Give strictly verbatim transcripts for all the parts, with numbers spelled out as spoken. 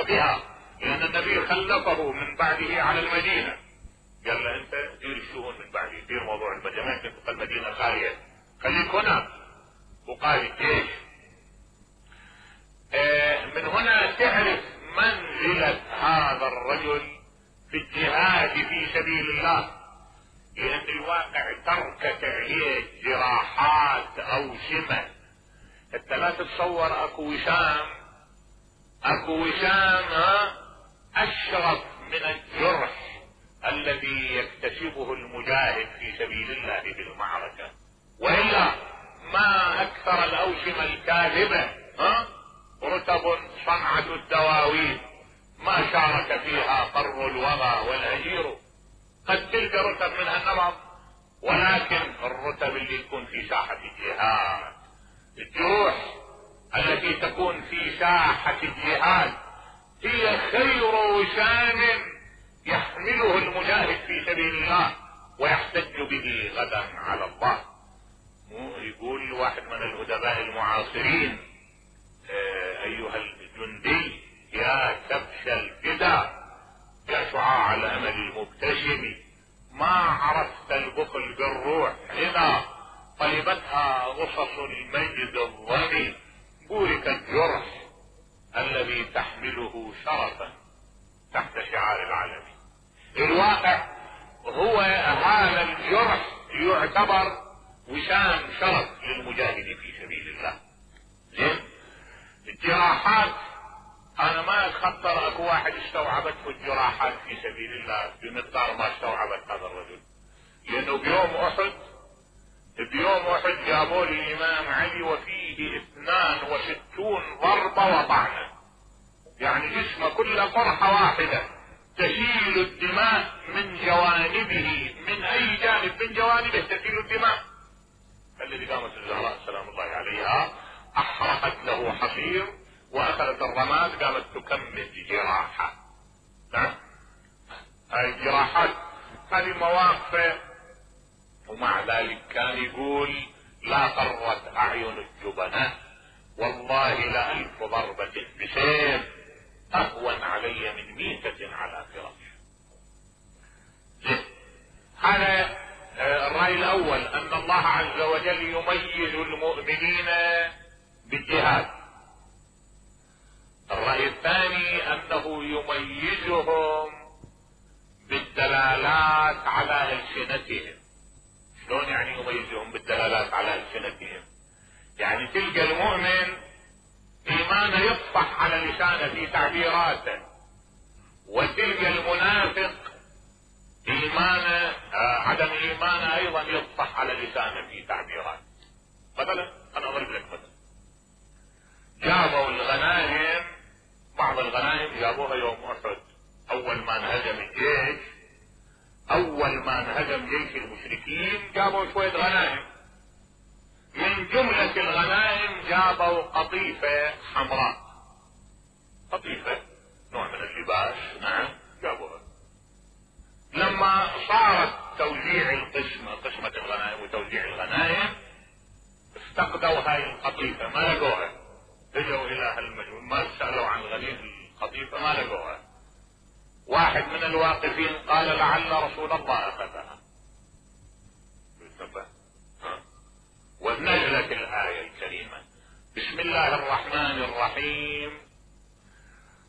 بها، لان النبي خلفه من بعده على المدينة، قال له انت دير الشؤون من بعدي، دير موضوع المدينة، ما يمكن تبقى المدينة خالية، خليك هنا وقائد الجيش. اه من هنا تعرف منزلة هذا الرجل في الجهاد في سبيل الله، لان الواقع تركت عليه جراحات او شمة. انت لا تتصور اكو وشام، اكو وشام ها اشرف من الجرح الذي يكتسبه المجاهد في سبيل الله في المعركة، والا ما اكثر الاوشمة الكاذبة ها رتب صنعة الدواوين ما شارك فيها قر الوغى والهجير. قد تلك رتب منها النمط، ولكن الرتب اللي تكون في ساحة الجهاد، الجروح التي تكون في ساحة الجهاد هي خير وشام يحمله المجاهد في سبيل الله ويحتج به غدا على الله. يقول واحد من الادباء المعاصرين: اه ايها الجندي يا كبش الفدا، يا شعاع الامل المبتسم، ما عرفت البخل بالروح اذا طلبتها غصص المجد الظني، بورك الجرح الذي تحمله شرفا تحت شعار العالمين. الواقع هو هذا الجرح يعتبر وشام شرف للمجاهد في سبيل الله. زين الجراحات انا ما اتخطر اكو واحد استوعبته الجراحات في سبيل الله بمقدار ما استوعبت هذا الرجل، لانه بيوم احد بيوم احد جابوا لي الامام علي وفيه اثنان وستون ضربة وطعنة، يعني جسمه كله قرحة واحدة تسيل الدماء من جوانبه، من اي جانب من جوانبه تسيل الدماء. الذي قامت الزهراء سلام الله عليها احرقت له حصير واخذت الرماد قامت تكمل جراحة. نعم هاي الجراحات هذه مواقف. ومع ذلك كان يقول: لا قرت اعين الجبناء والله لألف ضربة بسيف اهون علي من ميتة على فراش. هذا الرأي الاول، ان الله عز وجل يميز المؤمنين بالجهاد. الرأي الثاني انه يميزهم بالدلالات على ألسنتهم. شلون يعني يميزهم بالدلالات على ألسنتهم؟ يعني تلقى المؤمن ايمانه يطفح على لسانه في تعبيراته، وتلقى المنافق ايمانه آه عدم ايمانه ايضا يطفح على لسانه في تعبيراته. مثلا انا اضرب لك مثلا، جابوا الغنائم، بعض الغنائم جابوها يوم احد، اول ما انهزم الجيش، اول ما انهزم جيش المشركين جابوا شوية غنائم. من جملة الغنائم جابوا قطيفة حمراء، قطيفة نوع من اللباس، نعم جابوها. لما صارت توزيع القسمة، قسمة الغنائم وتوزيع الغنائم، افتقدوا هاي القطيفة ما لقوها، رجعوا الى هالمجموع ما سألوا عن غنيم القطيفة ما لقوها. واحد من الواقفين قال: لعل رسول الله اخذها. ونزلت الآية الكريمة: بسم الله الرحمن الرحيم: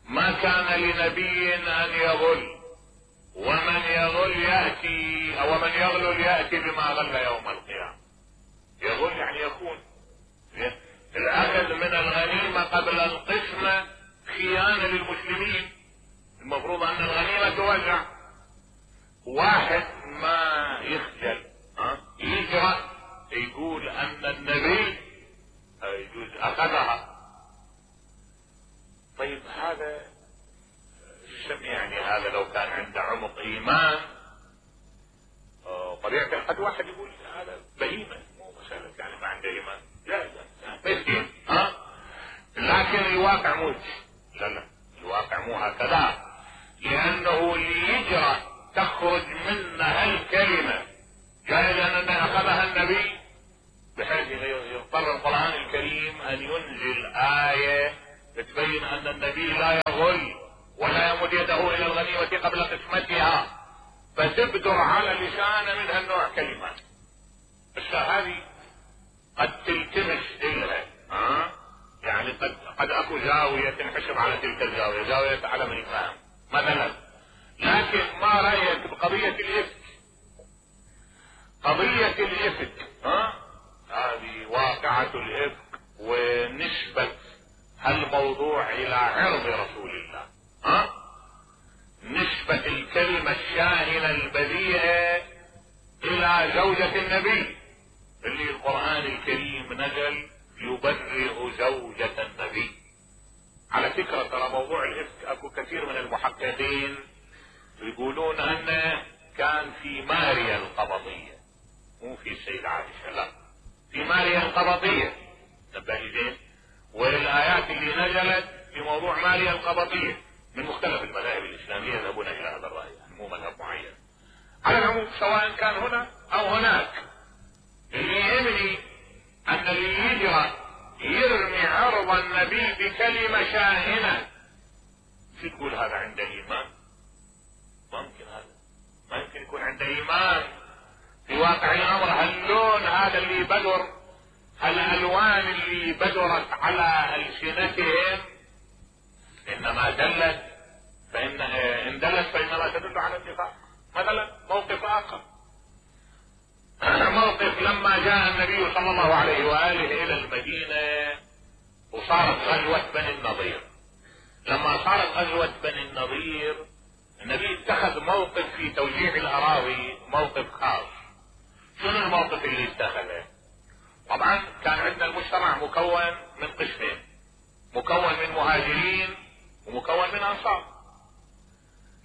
ما كان لنبي ان يغل ومن يغل يأتي او من يغلل يأتي بما غل يوم القيامة. يغل يعني يكون الاخذ من الغنيمة قبل القسمة خيانة للمسلمين، المفروض ان الغنيمة توزع. واحد ما يخجل ها يجرأ يقول ان النبي يجوز اخذها. طيب هذا شم يعني هذا لو كان عنده عمق ايمان طبيعة الحد واحد يقول هذا بهيمة، مو مسألة يعني ما عنده ايمان جائزة مسكين ها. لكن الواقع مو لا لا الواقع مو هكذا، لانه اللي يجرأ تخرج منه هالكلمة جائزة ان اخذها النبي، بحيث يضطر القرآن الكريم ان ينزل آية تبين ان النبي لا يغل يمد يده الى الغنيمة قبل قسمتها فتبدر على لسانه من هالنوع كلمات. بس هذه قد تلتمس الها، ها يعني قد قد اكو زاوية تنحسب على تلك الزاوية، زاوية عدم الفهم مثلا. لكن ما رأيك بقضية الإفك؟ قضية الإفك ها هذه واقعة الإفك ونسبة الموضوع الى عرض رسول الله، ها نسبة الكلمة الشاهنة البذيئة الى زوجة النبي اللي القرآن الكريم نزل يبرئ زوجة النبي. على فكرة ترى موضوع الإفك اكو كثير من المحققين يقولون انه كان في ماريا القبطية، مو في السيدة عائشة، لا في ماريا القبطية. نبهي زين. والآيات اللي نزلت في موضوع ماريا القبطية من مختلف المذاهب الإسلامية يذهبون إلى هذا الرأي، مو مذهب معين. على العموم سواء كان هنا أو هناك، اللي يهمني أن اللي يجرى يرمي عرض النبي بكلمة شاهنة، شو تقول هذا عنده إيمان؟ ما ممكن، هذا ما يمكن يكون عنده إيمان. في واقع الأمر هاللون هذا اللي بدر، الألوان اللي بدرت على ألسنتهم إنما دلت فإن إن دلت فإنما تدل على النفاق. مثلا موقف آخر، موقف لما جاء النبي صلى الله عليه وآله إلى المدينة وصارت غزوة بني النضير. لما صارت غزوة بني النضير النبي اتخذ موقف في توزيع الأراضي، موقف خاص. شنو الموقف اللي اتخذه؟ طبعا كان عندنا المجتمع مكون من قسمين، مكون من مهاجرين ومكون من انصار.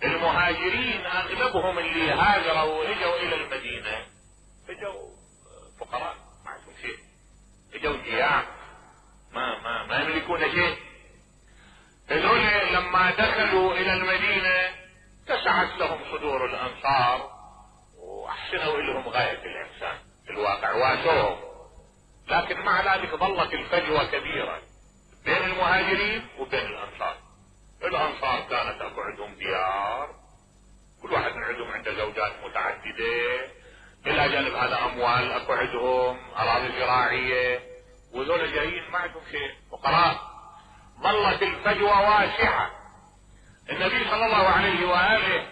المهاجرين اغلبهم اللي هاجروا واجوا الى المدينة اجوا فقراء ما عندهم شيء، اجوا جياع ما ما ما يملكون شيء. هذول لما دخلوا الى المدينة تسعت لهم صدور الانصار واحسنوا لهم غاية الاحسان في الواقع واسوهم، لكن مع ذلك ظلت الفجوة كبيرة بين المهاجرين وبين الانصار. الانصار كانت اكو عندهم ديار، كل واحد من عندهم عنده زوجات متعددة، الى جانب هذا اموال اكو عندهم اراضي زراعية، وذول جايين ما عندهم شيء فقراء. ظلت الفجوة واسعة. النبي صلى الله عليه واله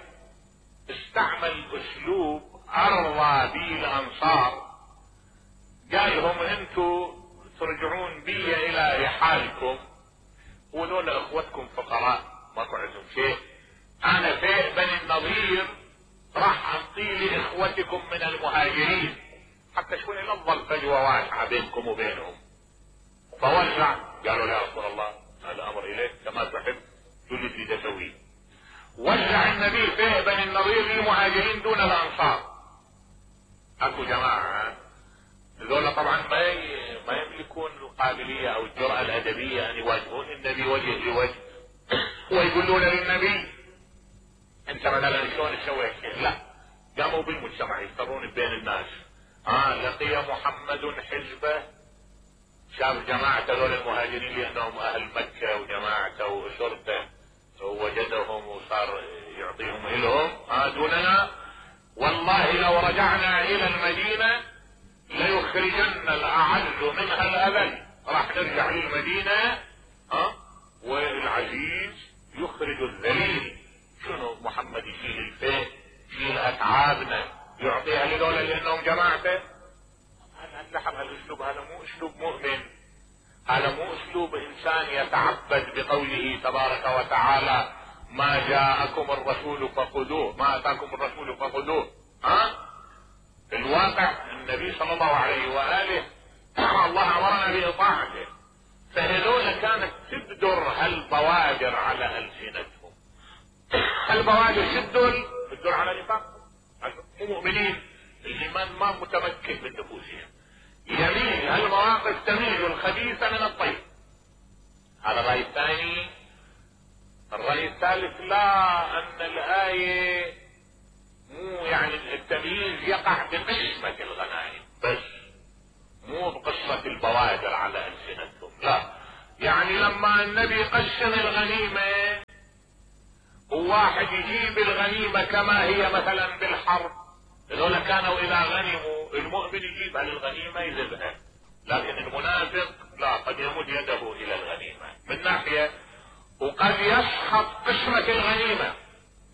استعمل اسلوب ارضى به الانصار، قال لهم انتوا ترجعون بي الى رحالكم وذول اخوتكم فقراء ماكو عندهم شيء، انا في بني النضير راح اعطي لاخوتكم من المهاجرين حتى شوي لا تظل فجوه واسعه بينكم وبينهم. فوزع، قالوا يا رسول الله هذا امر اليك كما تحب، شو اللي تريد اسويه؟ وزع النبي في بني النضير للمهاجرين دون الانصار. اكو جماعه ذولا طبعا ما ما يملكون القابليه او الجرأة الادبيه ان يواجهون النبي وجه لوجه ويقولون للنبي انت مثلا شلون تسوي هيك؟ لا، قاموا بالمجتمع يفترون بين الناس. اه لقي محمد حزبه، شاف جماعه ذول المهاجرين لانهم اهل مكه وجماعته واسرته ووجدهم وصار يعطيهم الهم اه دوننا، والله لو رجعنا الى المدينه ليخرجن الاعز منها الاذل. راح نرجع للمدينة ها والعزيز يخرج الذليل. شنو محمد يشيل الفيل يشيل اتعابنا يعطيها لدولة لانهم جماعته؟ هذا اللحم هالاسلوب هذا مو اسلوب مؤمن، هذا مو اسلوب انسان يتعبد بقوله تبارك وتعالى ما جاءكم الرسول فخذوه ما اتاكم الرسول فخذوه. ها في الواقع النبي صلى الله عليه وآله الله امرنا بإطاعته، فهذول كانت تبدر هالبوادر على ألسنتهم. هالبوادر تدل تدل على نفاقهم، مو مؤمنين، الإيمان ما متمكن من نفوسهم. يميل هالمواقف تميز الخبيث من الطيب. هذا الرأي الثاني. الرأي الثالث لا، أن الآية مو يعني التمييز يقع بقسمة الغنائم بس، مو بقصة البوادر على ألسنتهم، لا. يعني لما النبي قسم الغنيمة هو واحد يجيب الغنيمة كما هي مثلا بالحرب، هذول كانوا اذا غنموا المؤمن يجيبها للغنيمة يذبها، لكن المنافق لا، قد يمد يده الى الغنيمة من ناحية، وقد يسخط قسمة الغنيمة.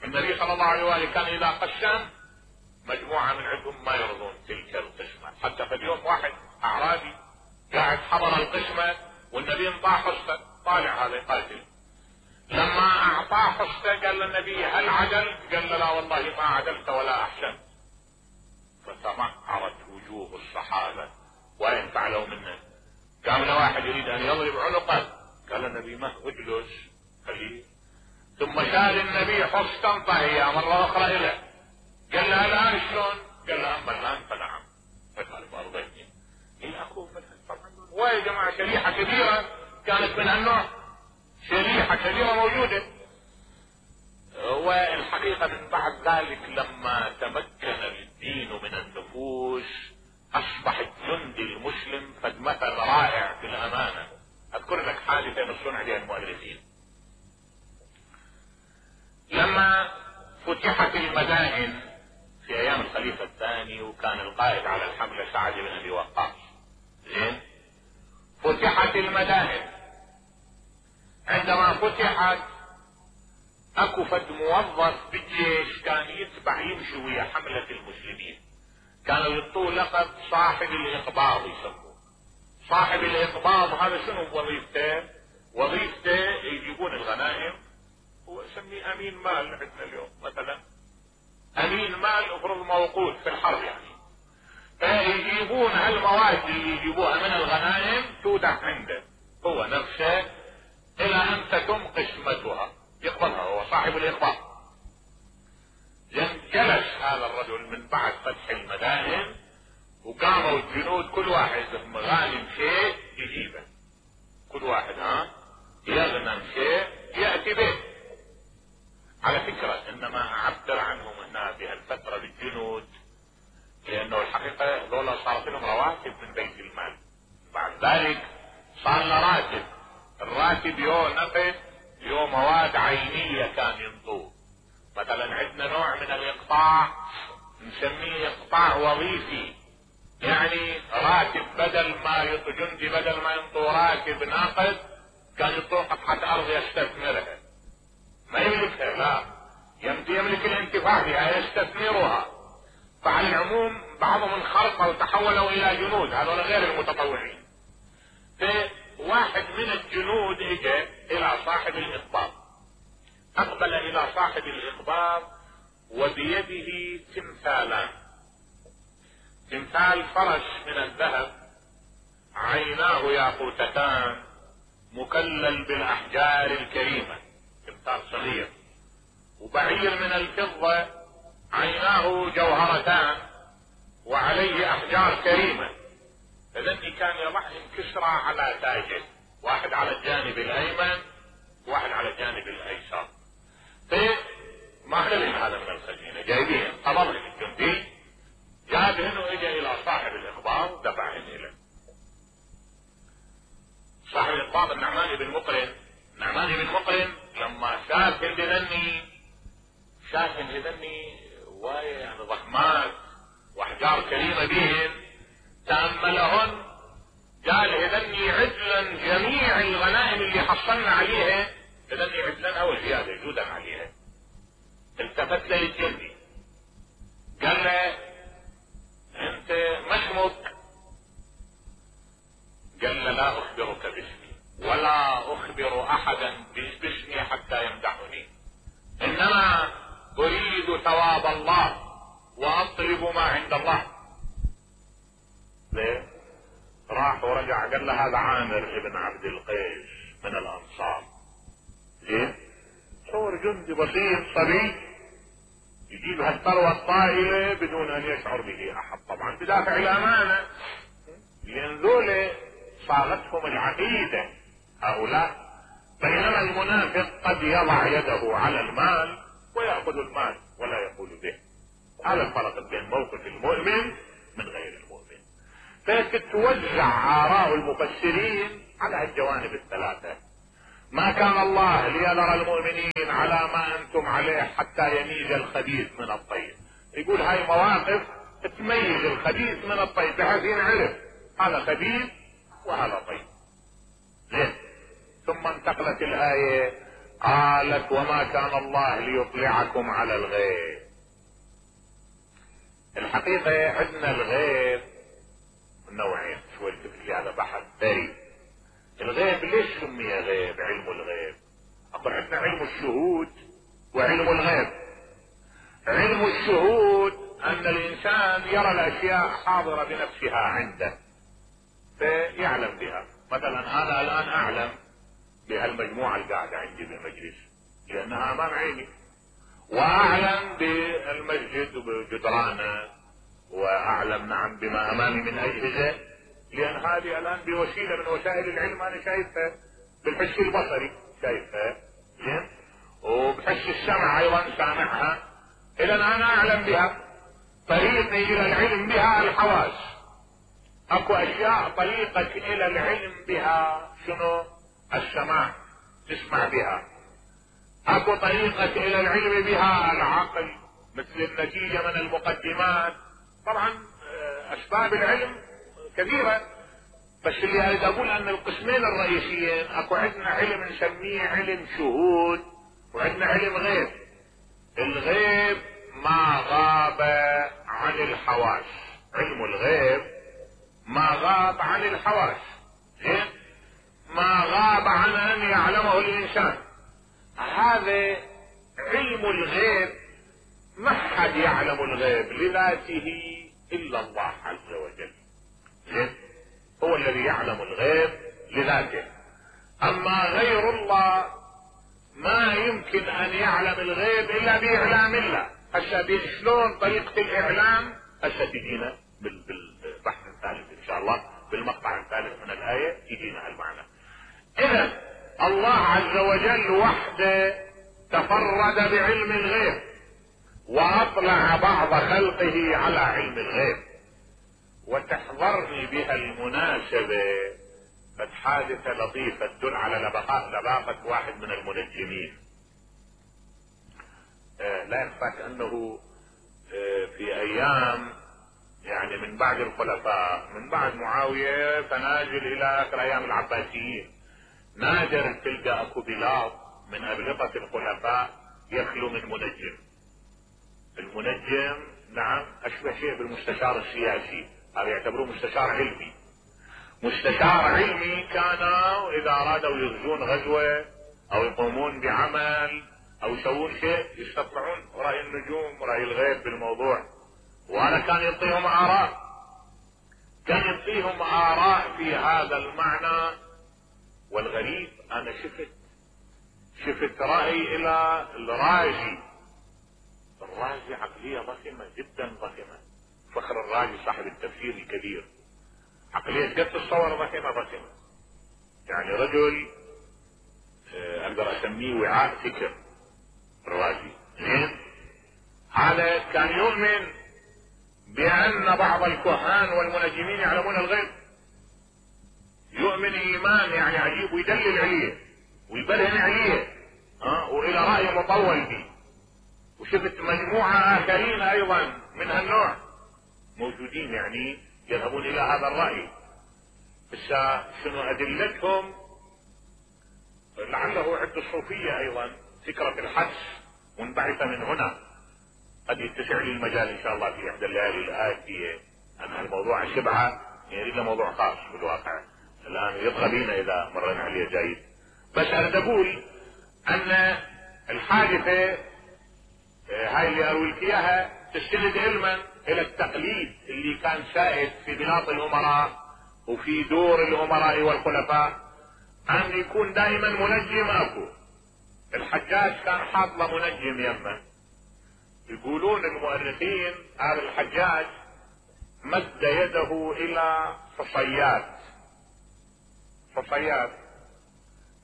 النبي صلى الله عليه وآله كان اذا قسم مجموعة من عندهم ما يرضون تلك القسمة، حتى في اليوم واحد اعرابي قاعد حضر القسمة والنبي انطاه حصة، طالع هذا يقاتل، لما اعطاه حصة قال للنبي هل عدل؟ قال له لا والله ما عدلت ولا احسنت. فتمعرت وجوه الصحابة وين فعلوا منه. قام له واحد يريد ان يضرب عنقه، قال النبي ما اجلس خليه، ثم شال النبي حصة طهية مرة اخرى له، قال له الان شلون؟ قال له اما الان فنعم، فقال بارضيني الى اخوه منها. طبعا ويا جماعة شريحة كبيرة كانت من هالنوع، شريحة كبيرة موجودة. والحقيقة من بعد ذلك لما تمكن الدين من النفوس اصبح الجندي المسلم قد مثل رائع في الامانة. اذكر لك حادثة من صنع المؤرخين، لما فتحت المدائن في ايام الخليفة الثاني وكان القائد على الحملة سعد بن ابي وقاص، زين، فتحت المدائن. عندما فتحت اكو فد موظف بالجيش كان يتبع يمشي ويا حملة المسلمين، كانوا يعطوه لقب صاحب الاقباض يسموه. صاحب الاقباض هذا شنو وظيفته؟ وظيفته يجيبون الغنائم، هو يسميه امين مال عندنا اليوم مثلا، امين مال افرض موقوت في الحرب يعني، فيجيبون هالمواد اللي يجيبوها من الغنائم تودع عنده هو نفسه الى ان تتم قسمتها، يقبلها، هو صاحب الاقباض. جلس هذا الرجل من بعد فتح المدائن وقاموا الجنود كل واحد مغانم شيء يجيبه، كل واحد ها يغنم شيء يأتي به. على فكرة انما اعبر عنهم هنا بهالفترة بالجنود لانه الحقيقة ذولا صارت لهم رواتب من بيت المال، بعد ذلك صار له راتب، الراتب يو نقد يو مواد عينية كان ينطوه. مثلا عندنا نوع من الاقطاع نسميه اقطاع وظيفي، يعني راتب بدل ما ينطو جندي بدل ما ينطو راتب ناقد كان ينطوه قطعة ارض يستثمرها، ما يملكها، لا يملك, يملك الانتفاع بها يستثمرها. فعلى العموم بعضهم انخرطوا وتحولوا الى جنود، هذول غير المتطوعين. فواحد من الجنود اجى الى صاحب الاقباض، اقبل الى صاحب الاقباض وبيده تمثالان، تمثال فرس من الذهب عيناه ياقوتتان مكلل بالاحجار الكريمة، تمثال صغير، وبعير من الفضة عيناه جوهرتان وعليه احجار كريمة. فذني كان يضع انكسرة على تاجه، واحد على الجانب الايمن واحد على الجانب الايسر. فما خلي هذا من الخزينة جايبين، قبضه الجندي جابهن واجا الى صاحب الاقباض دفعهن اليه. صاحب الاقباض النعمان بن مقرن، نعمان بن مقرن لما شاف هذني شاف هذني وايه يعني ضخمات واحجار كريمة بهن، تأملهن قال هذني عدلا جميع الغنائم اللي حصلنا عليها، هذني عدلا او زيادة جودا عليها. التفت له الجندي قال له انت ما اسمك؟ قال له لا اخبرك باسمي ولا اخبر احدا باسمي حتى يمدحني، انما اريد ثواب الله واطلب ما عند الله. ليه؟ راح ورجع قال له هذا عامر ابن عبد القيس من الانصار. ليه؟ صور جندي بسيط صبي يجيب هالثروة الطائلة بدون ان يشعر به احد، طبعا بدافع الامانة، لان ذولا صاغتهم العقيدة هؤلاء. بينما المنافق قد يضع يده على المال ويأخذ المال ولا يقول به. هذا الفرق بين موقف المؤمن من غير المؤمن. فتتوزع آراء المفسرين على الجوانب الثلاثة، ما كان الله ليذر المؤمنين على ما انتم عليه حتى يميز الخبيث من الطيب. يقول هاي مواقف تميز الخبيث من الطيب بحيث ينعرف هذا خبيث وهذا طيب. زين. ثم انتقلت الآية قالت وما كان الله ليطلعكم على الغيب. الحقيقة عندنا الغيب نوعين، شوي في هذا بحث ثري. الغيب ليش سمي غيب؟ علم الغيب. اقول عندنا علم الشهود وعلم الغيب. علم الشهود ان الانسان يرى الاشياء حاضرة بنفسها عنده فيعلم بها. مثلا انا الان اعلم بهالمجموعة القاعدة عندي بالمجلس لانها امام عيني، واعلم بالمسجد وبجدرانه، واعلم نعم بما امامي من اجهزة لان هذه الان بوسيلة من وسائل العلم انا شايفها بالحس البصري شايفها. زين. وبحس السمع ايضا سامعها، اذا انا اعلم بها. طريقي الى العلم بها الحواس. اكو اشياء طريقك الى العلم بها شنو؟ السماع، تسمع بها. اكو طريقة الى العلم بها العقل، مثل النتيجة من المقدمات. طبعا اسباب العلم كثيرة، بس اللي اريد اقول ان القسمين الرئيسيين اكو عندنا علم نسميه علم شهود وعندنا علم غيب. الغيب ما غاب عن الحواس، علم الغيب ما غاب عن الحواس. زين. ما غاب عن ان يعلمه الانسان. هذا علم الغيب ما حد يعلم الغيب لذاته الا الله عز وجل. زين. هو الذي يعلم الغيب لذاته. اما غير الله ما يمكن ان يعلم الغيب الا باعلام الله. هسه شلون طريقة الاعلام؟ هسه تجينا بالبحث الثالث ان شاء الله، بالمقطع الثالث من الاية يجينا هالمعنى. اذا الله عز وجل وحده تفرد بعلم الغيب واطلع بعض خلقه على علم الغيب. وتحضرني بها المناسبة قد حادثة لطيفة تدل على لباقة واحد من المنجمين. آه لا يخفاك انه آه في ايام يعني من بعد الخلفاء، من بعد معاوية فنازل الى اخر ايام العباسيين، نادر تلقى اكو بلاط من ابلغة الخلفاء يخلو من منجم. المنجم نعم اشبه شيء بالمستشار السياسي، هذا يعتبروه مستشار علمي. مستشار علمي كانوا اذا ارادوا يغزون غزوة او يقومون بعمل او يسوون شيء يستطلعون رأي النجوم ورأي الغيب بالموضوع، وانا كان يعطيهم اراء، كان يعطيهم اراء في هذا المعنى. والغريب انا شفت شفت رأي الى الرازي. الرازي عقلية ضخمة جدا ضخمة، فخر الرازي صاحب التفسير الكبير، عقلية قد تصور ضخمة ضخمة. يعني رجل اقدر اسميه وعاء فكر الرازي. زين. هذا كان يؤمن بان بعض الكهان والمنجمين يعلمون الغيب، يؤمن ايمان يعني عجيب ويدلل عليه ويبرهن عليه ها أه؟ والى رأي مطول به. وشفت مجموعة اخرين ايضا من هالنوع موجودين يعني يذهبون الى هذا الرأي. بس شنو ادلتهم؟ لعله عند الصوفية ايضا فكرة الحدس منبعثة من هنا. قد يتسع لي المجال ان شاء الله في احدى الليالي الاتية ان الموضوع شبعة يريد له موضوع خاص بالواقع الان يطغى بينا اذا مرينا عليه جيد. بس اريد اقول ان الحادثة هاي اللي اروي لك اياها تستند علما الى التقليد اللي كان سائد في بلاط الامراء وفي دور الامراء والخلفاء، ان يكون دائما منجم اكو. الحجاج كان حاط له منجم يمه. يقولون المؤرخين هذا الحجاج مد يده الى فصيات، فصيات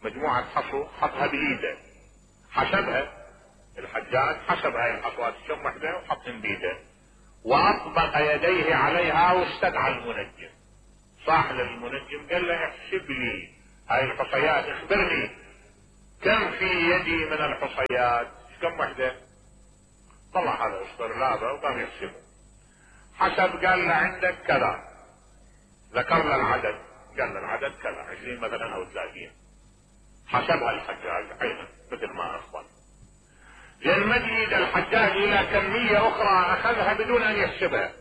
مجموعة حصو حطها بايده، حسبها الحجاج، حسب هاي الحصوات كم وحده وحطهم بيده واطبق يديه عليها واستدعى المنجم. صاح للمنجم قال له احسب لي هاي الحصيات، اخبرني كم في يدي من الحصيات؟ كم وحدة؟ طلع هذا اسطرلابه وقام يحسبه. حسب قال له عندك كذا، ذكر له العدد، قال له العدد كذا، عشرين مثلا او ثلاثين. حسبها الحجاج عينا مثل ما اخبر. لان مجيد الحجاج الى كمية اخرى اخذها بدون ان يحسبها.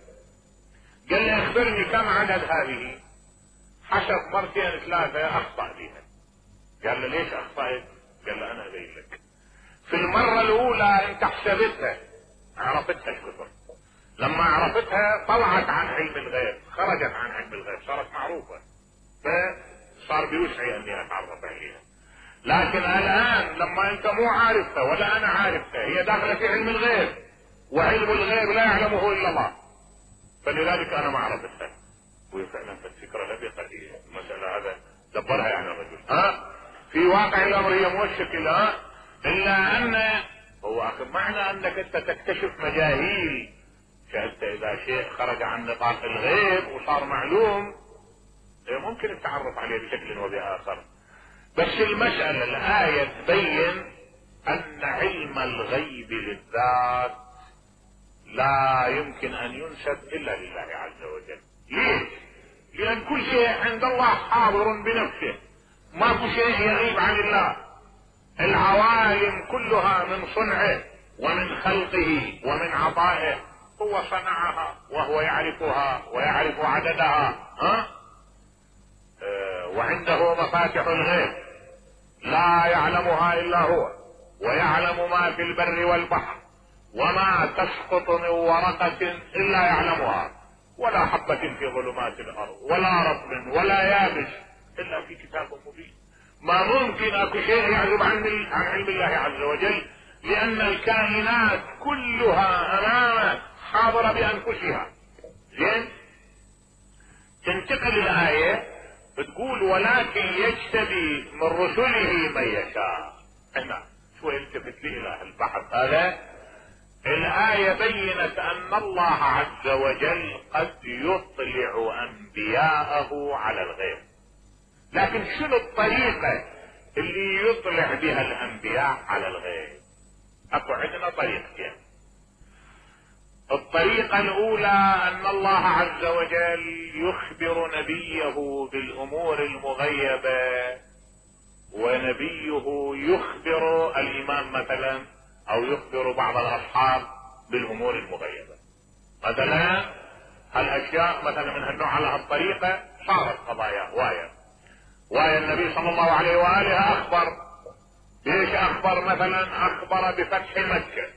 قال له اخبرني كم عدد هذه؟ حسب مرتين ثلاثة اخطأ بها. قال له ليش اخطأت؟ قال له انا ابين لك. في المرة الاولى انت حسبتها، عرفتها الكثر، لما عرفتها طلعت عن علم الغيب، خرجت عن علم الغيب، صارت معروفة، فصار بوسعي اني اتعرف عليها. لكن الان لما انت مو عارفها ولا انا عارفها، هي داخلة في علم الغيب، وعلم الغيب لا يعلمه الا الله، فلذلك انا ما عرفتها. وفعلا فالفكرة لبقة في المسألة هذا دبرها يعني الرجل. ها في واقع الامر هي مو الشكل، ها الا ان هو اخر معنى انك انت تكتشف مجاهيل، فانت اذا شيء خرج عن نطاق الغيب وصار معلوم ممكن التعرف عليه بشكل وبآخر. بس المسألة الآية تبين ان علم الغيب للذات لا يمكن ان ينسب الا لله عز وجل. ليش؟ لان كل شيء عند الله حاضر بنفسه، ما في شيء يغيب عن الله. العوالم كلها من صنعه ومن خلقه ومن عطائه، هو صنعها وهو يعرفها ويعرف عددها. ها اه وعنده مفاتح الغيب لا يعلمها الا هو، ويعلم ما في البر والبحر، وما تسقط من ورقة الا يعلمها، ولا حبة في ظلمات الارض، ولا رطب ولا يابس الا في كتاب مبين. ما ممكن اكو شيء يعزب عن عن علم الله عز وجل، لان الكائنات كلها امامه حاضرة بانفسها. زين، تنتقل الايه بتقول ولكن يجتبي من رسله من يشاء. هنا شوي التفت لي الى البحث هذا. الآية بينت أن الله عز وجل قد يطلع أنبياءه على الغيب، لكن شنو الطريقة اللي يطلع بها الأنبياء على الغيب؟ أكو عندنا طريقتين. الطريقة الأولى أن الله عز وجل يخبر نبيه بالأمور المغيبة، ونبيه يخبر الإمام مثلا او يخبر بعض الاصحاب بالامور المغيبة. مثلا هالاشياء مثلا من هالنوع على هالطريقة صارت قضايا وايا وايا النبي صلى الله عليه واله اخبر. ليش اخبر؟ مثلا اخبر بفتح مكة،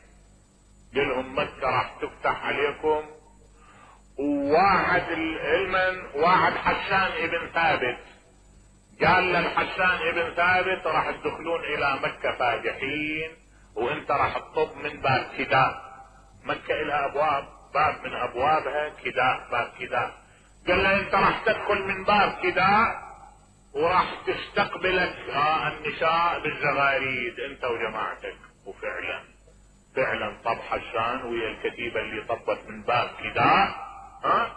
قال لهم مكة راح تفتح عليكم، وواحد علما واحد حسان ابن ثابت قال للحسان ابن ثابت راح تدخلون الى مكة فاجحين، وانت راح تطب من باب كداء. مكة لها ابواب، باب من ابوابها كداء، باب كداء. قال له انت راح تدخل من باب كداء وراح تستقبلك آه النساء بالزغاريد انت وجماعتك. وفعلا فعلا طب حسان ويا الكتيبة اللي طبت من باب كداء. ها آه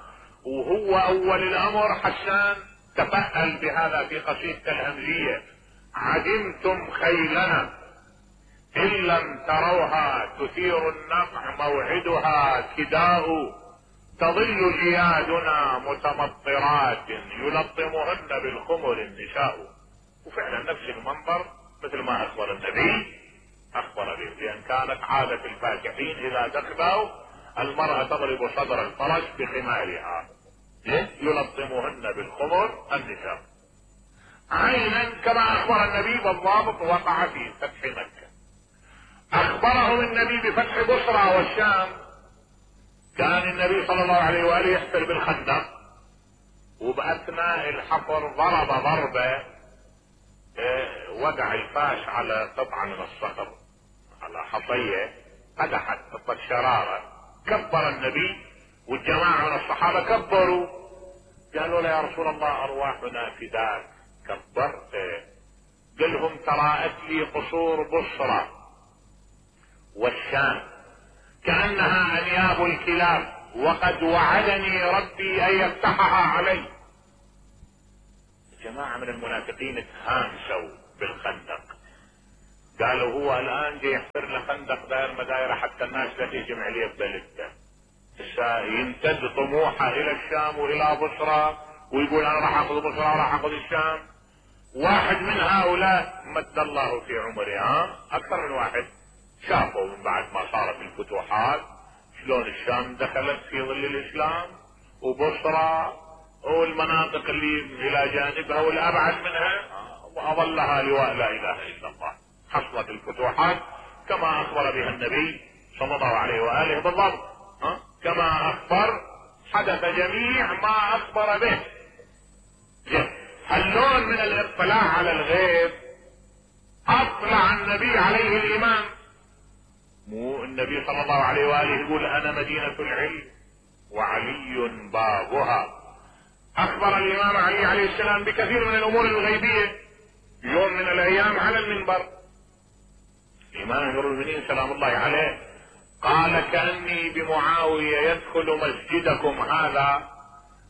وهو اول الامر حسان تفأل بهذا في قصيدة الهمزية: عدمتم خيلنا إن لم تروها تثير النقع موعدها كداء، تظل جيادنا متمطرات يلطمهن بالخمر النساء. وفعلا نفس المنظر مثل ما اخبر النبي اخبر به، لان كانت عادة الفاكحين اذا دخلوا المرأة تضرب صدر الفرس بخمارها يلطمهن بالخمر النساء، عينا كما اخبر النبي بالضابط وقع في فتح مكة. اخبرهم النبي بفتح بصرى والشام. كان النبي صلى الله عليه واله يحفر بالخندق، وباثناء الحفر ضرب ضربة اه وقع الفاش على قطعة من الصخر، على حصية قدحت قطة شرارة. كبر النبي والجماعة من الصحابة كبروا، قالوا له يا رسول الله ارواحنا فداك. كبرت. قال لهم تراءت لي قصور بصرى والشام كأنها انياب الكلاب، وقد وعدني ربي ان يفتحها علي. جماعة من المنافقين تهامسوا بالخندق، قالوا هو الان جاي يحفر له خندق داير مدايره حتى الناس لا تهجم عليه ببلدته. يمتد طموحه الى الشام والى بصرى ويقول انا راح اخذ بصرى وراح اخذ الشام. واحد من هؤلاء مد الله في عمره، ها اكثر من واحد، شافوا من بعد ما صارت الفتوحات شلون الشام دخلت في ظل الاسلام وبصرى والمناطق اللي الى جانبها والابعد منها واظلها لواء لا اله الا الله. حصلت الفتوحات كما اخبر بها النبي صلى الله عليه واله بالضبط، ها كما اخبر حدث جميع ما اخبر به. هاللون من الاطلاع على الغيب اطلع النبي عليه الامام. مو النبي صلى الله عليه واله يقول انا مدينة العلم وعلي بابها. اخبر الامام علي عليه السلام بكثير من الامور الغيبية يوم من الايام على المنبر. الامام امير المؤمنين سلام الله عليه قال كأني بمعاوية يدخل مسجدكم هذا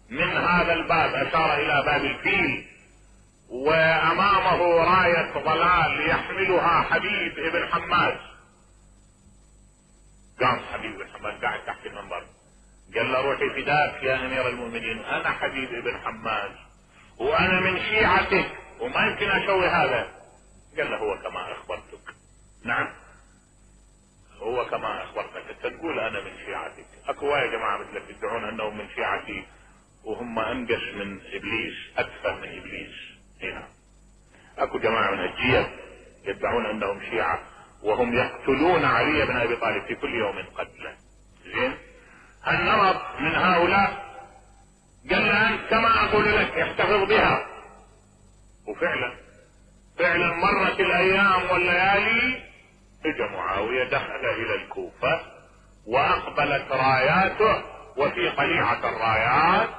من هذا الباب، اشار الى باب الفيل، وامامه راية ضلال يحملها حبيب ابن حماد. قام حبيب ابن حماد قاعد تحت المنبر قال له روحي فداك يا امير المؤمنين، انا حبيب ابن حماد وانا من شيعتك وما يمكن اسوي هذا. قال له هو كما اخبرتك. نعم هو كما اخبرتك، انت تقول انا من شيعتك. اكو يا جماعه مثلك يدعون انهم من شيعتي وهم انقش من ابليس، اتفه من ابليس. هنا اكو جماعه من الجيش يدعون انهم شيعه وهم يقتلون علي بن ابي طالب في كل يوم قتله. زين هالنمط من هؤلاء قال له انت كما اقول لك احتفظ بها. وفعلا فعلا مرت الايام والليالي، اجى معاويه دخل الى الكوفه واقبلت راياته، وفي قليعه الرايات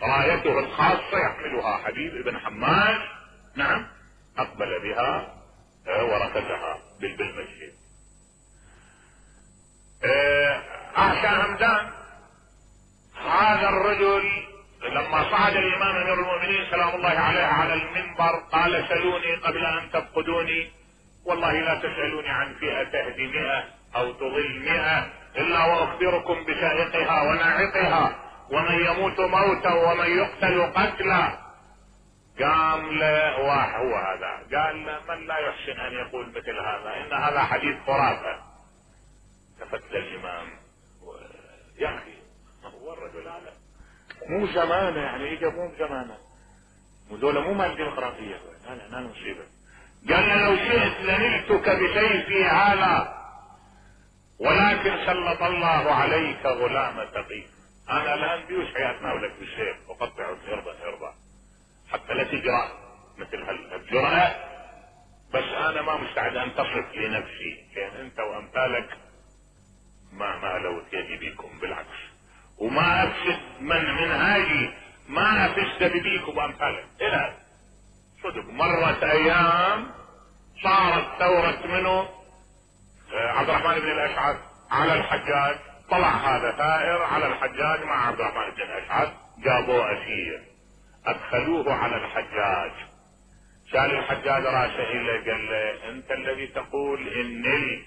رايته الخاصه يحملها حبيب بن حماد. نعم اقبل بها وركزها بالمسجد. اعشى همدان هذا الرجل لما صعد الامام امير المؤمنين سلام الله عليه على المنبر قال سلوني قبل ان تفقدوني، والله لا تسألوني عن فئة تهدي مئة او تضل مئة الا واخبركم بسائقها وناعقها ومن يموت موتا ومن يقتل قتلا. قام له واحد هو هذا قال له من لا يحسن ان يقول مثل هذا، ان هذا حديث خرافة. تفت الامام يا اخي هو الرجل هذا مو زمانه، يعني اجا مو زمانه، ودول مو مال ديمقراطية، لا لا لا مصيبة. قال له لو شئت لنلتك بسيفي هذا ولكن سلط الله عليك غلام تقي. انا الان بيوش حياتنا ولك بالسيف وقطعه ارضا ارضا حتى لا تجرأ مثل هالجرأة، بس انا ما مستعد ان تصف لنفسي، كان انت وامثالك ما ما لوت يدي بيكم، بالعكس وما افسد من منهاجي، ما افسد بيكم وامثالك. الى صدق مرت ايام صارت ثورة منه عبد الرحمن بن الاشعث على الحجاج، طلع هذا ثائر على الحجاج مع عبد الرحمن بن الاشعث، جابوه اسير ادخلوه على الحجاج. سال الحجاج راسه اليه قال له انت الذي تقول ان نلت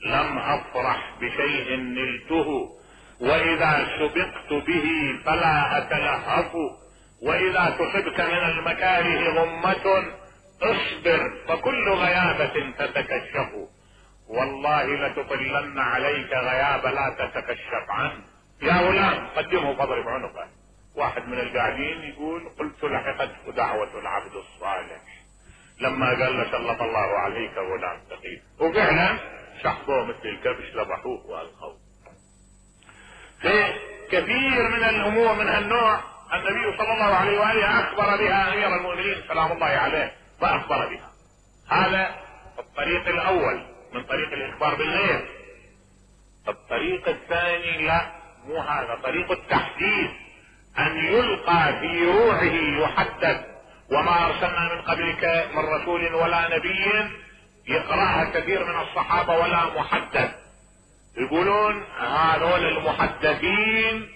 لم افرح بشيء نلته، واذا سبقت به فلا اتلهف، واذا تصبك من المكاره غمة اصبر فكل غيابة تتكشف، والله لتطلن عليك غياب لا تتكشف عنه. يا غلام قدمه فاضرب عنقه. واحد من القاعدين يقول قلت لحقته دعوة العبد الصالح لما قال له سلط الله عليك غلام تقي، وفعلا سحبوه مثل الكبش ذبحوه والقوه. في كثير من الامور من هالنوع النبي صلى الله عليه واله اخبر بها امير المؤمنين سلام الله عليه فاخبر بها. هذا الطريق الاول من طريق الاخبار بالغيب. الطريق الثاني لا مو هذا، طريق التحديث، ان يلقى في روحه يحدث. وما ارسلنا من قبلك من رسول ولا نبي يقرأها كثير من الصحابة ولا محدث. يقولون هذول المحدثين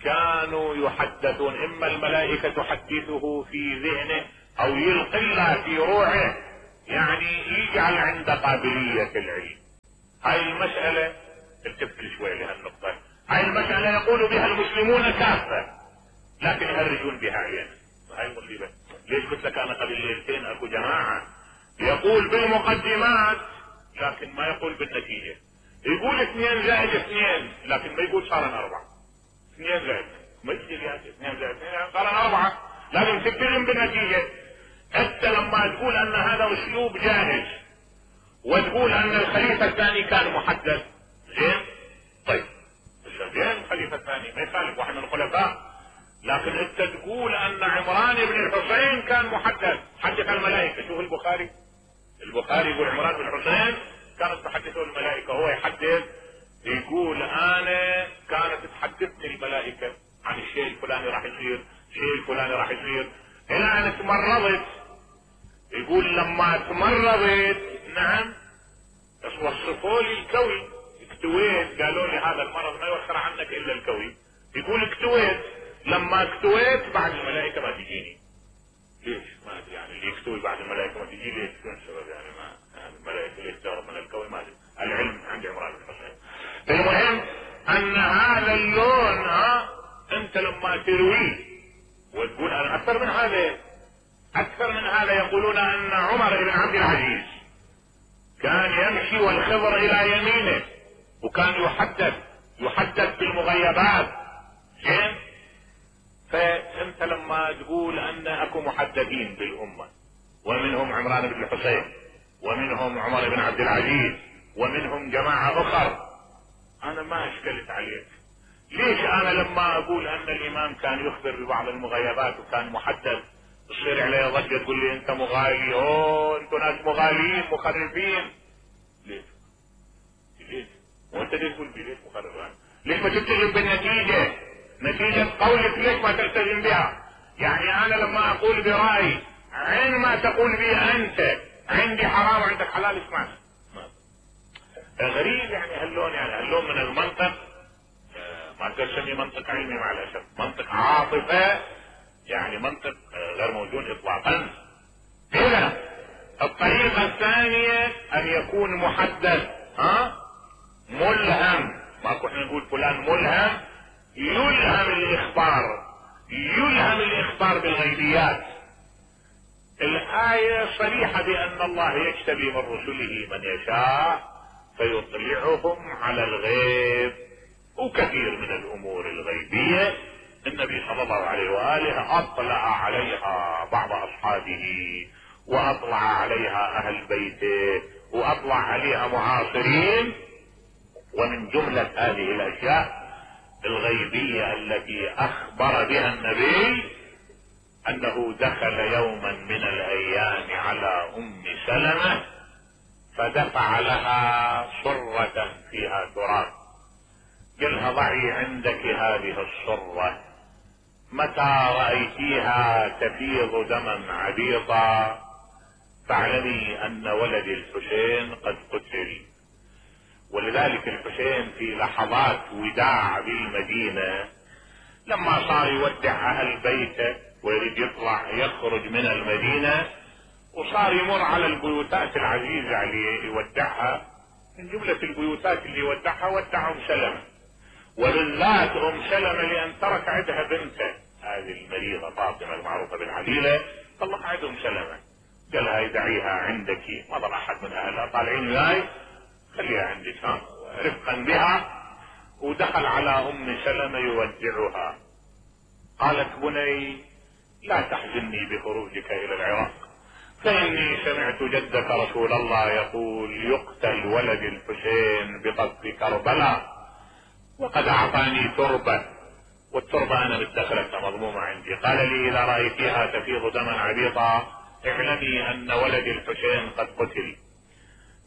كانوا يحدثون، اما الملائكة تحدثه في ذهنه او يلقي الله في روحه يعني يجعل عنده قابلية العلم. هاي المسألة التفت شوي لهالنقطة. هاي المسألة يقول بها المسلمون كافة لكن يهرجون بها عيانا. هاي المصيبة. ليش قلت لك انا قبل ليلتين اكو جماعة يقول بالمقدمات لكن ما يقول بالنتيجة. يقول اثنين زائد اثنين لكن ما يقول صار اربعة. اثنين زائد ما يصير يعني اثنين زائد اثنين صار اربعة. لازم تتكلم بالنتيجة. انت لما تقول ان هذا اسلوب جاهز وتقول ان الخليفة الثاني كان محدد زين طيب زين الخليفة الثاني ما يخالف واحد من الخلفاء، لكن انت تقول ان عمران بن الحسين كان محدد حدث الملائكة. شوف البخاري البخاري يقول عمران بن الحسين كانت تحدثه الملائكة، هو يحدث يقول انا كانت تحدثني الملائكة عن الشيء الفلاني راح يصير الشيء الفلاني راح يصير الى ان تمرضت. يقول لما تمرضت نعم وصفوا لي الكوي اكتويت قالوا لي هذا المرض ما يوخر عنك الا الكوي. يقول اكتويت لما اكتويت بعد الملائكة ما تجيني. ليش ما ادري يعني اللي يكتوي بعد الملائكة ما تجي ليش شو السبب يعني ما يعني الملائكة ليش تهرب من الكوي ما ادري. العلم عند عمران بن الحسين. المهم ان هذا اللون ها انت لما ترويه وتقول انا اكثر من هذا اكثر من هذا يقولون ان عمر بن عبد العزيز كان يمشي والخضر الى يمينه وكان يحدث يحدث بالمغيبات زين. فانت لما تقول ان اكو محدثين بالامه ومنهم عمران بن الحسين ومنهم عمر بن عبد العزيز ومنهم جماعه اخر انا ما اشكلت عليك. ليش انا لما اقول ان الامام كان يخبر ببعض المغيبات وكان محدث تصير عليه ضجه تقول لي انت مغالي اوه انتوا ناس مغالين مخرفين؟ ليش؟ ليش؟ وانت ليش تقول بي ليش مخرفان؟ ليش ما تلتزم بالنتيجه؟ نتيجه قولك ليش ما تلتزم بها؟ يعني انا لما اقول برايي عين ما تقول بي انت عندي حرام وعندك حلال اسمعني. غريب يعني هاللون يعني هاللون من المنطق ما اقدر اسميه منطق علمي مع الاسف، منطق عاطفه يعني منطق غير موجود اطلاقا. اذا الطريقه الثانيه ان يكون محدد ها ملهم. ماكو احنا نقول فلان ملهم يلهم الاخبار يلهم الاخبار بالغيبيات. الايه صريحه بان الله يجتبي من رسله من يشاء فيطلعهم على الغيب وكثير من الامور الغيبيه النبي صلى الله عليه واله اطلع عليها بعض اصحابه واطلع عليها اهل بيته واطلع عليها معاصرين. ومن جمله هذه الاشياء الغيبيه التي اخبر بها النبي انه دخل يوما من الايام على ام سلمة فدفع لها صرة فيها تراب قالها ضعي عندك هذه الصرة متى رأيتيها تفيض دما عبيطا فاعلمي ان ولد الحسين قد قتل. ولذلك الحسين في لحظات وداع بالمدينة لما صار يودع اهل بيته ويريد يطلع يخرج من المدينة وصار يمر على البيوتات العزيزة عليه يودعها. من جملة البيوتات اللي يودعها ودع ام سلمة وبالذات ام سلمة لان ترك عندها بنته هذه المريضة فاطمة المعروفة بالعليلة طلق عند ام سلمة قالها يدعيها عندك ما ضل احد من اهلها طالعين وياي خليها عندك رفقا بها. ودخل على ام سلمة يودعها قالت بني لا تحزني بخروجك الى العراق فاني سمعت جدك رسول الله يقول يقتل ولد الحسين بقصف كربلاء وقد اعطاني تربة والتربة انا مدخلتها مضمومة عندي. قال لي اذا رأيتيها تفيض دما عبيطا اعلمي ان ولد الحسين قد قتل